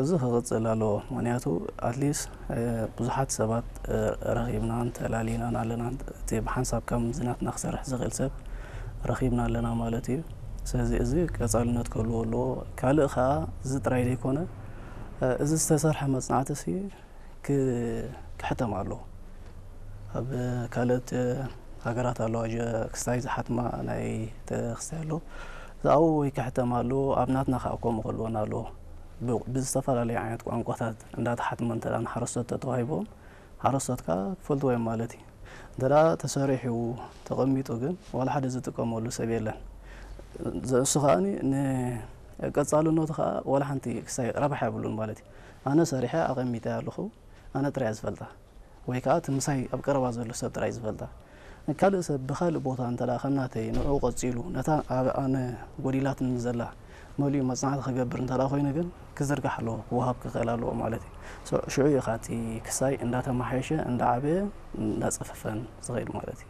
እዚ ክቕጽል ኣለዎ። ምክንያቱ ኣትሊስት ብዙሓት ሰባት ረኺብናን ተላሊናን ኣለና። እቲ ብሓንሳብ ከም ዝናትና ክሰርሕ ዝኽእል ሰብ ረኺብና ኣለና ማለት እዩ። ስለዚ እዚ ቀጻልነት ክህልዎ ኣለዎ። ካልእ ከዓ እዚ ጥራይ ዘይኮነ፣ እዚ ዝተሰርሐ መጽናዕቲ ሲ ክሕተም ኣለዎ። ኣብ ካልኦት ሃገራት ኣለዋ፣ ክስታይ ዝሓትማ ናይ ክስታይ ኣሎ። ኣብኡ ወይ ክሕተም ኣለዎ፣ ኣብ ናትና ከዓ ከምኡ ክህልወና ኣለዎ። ብዝተፈላለዩ ዓይነት ቋንቋታት እንዳተሓትመ እንተ ንሓረስቶት ተተዋሂቦም፣ ሓረስቶት ከዓ ክፈልጥዎ እዮም ማለት እዩ። እንተ ተሰሪሑ ተቐሚጡ ግን ዋላ ሓደ ዝጥቀመሉ ሰብ የለን። እሱ ከዓ ንቀፃልነቱ ከዓ ዋላ ሓንቲ ክስታይ ረብሓ የብሉን ማለት እዩ። ኣነ ሰሪሐ ኣቐሚጠ ኣለኹ፣ ኣነ ጥራይ ዝፈልጣ፣ ወይ ከዓ እቲ ምሳይ ኣብ ቀረባ ዘሎ ሰብ ጥራይ ዝፈልጣ። ካልእ ሰብ ብኻልእ ቦታ እንተ ከም ናተይ ንዕኡ ቀፂሉ ነታ ኣብ ኣነ ጎዲላትኒ ዘላ መሊኡ መፅናዕቲ ክገብር እንተ ኮይኑ ግን ክዝርጋሕ ኣለዎ፣ ክወሃብ ክኽእል ኣለዎ ማለት እዩ። ሽዑ ኢኻ እቲ ክስታይ እንዳተማሓየሸ እንዳዓበየ እንዳፀፈፈን ዝኸይድ ማለት እዩ።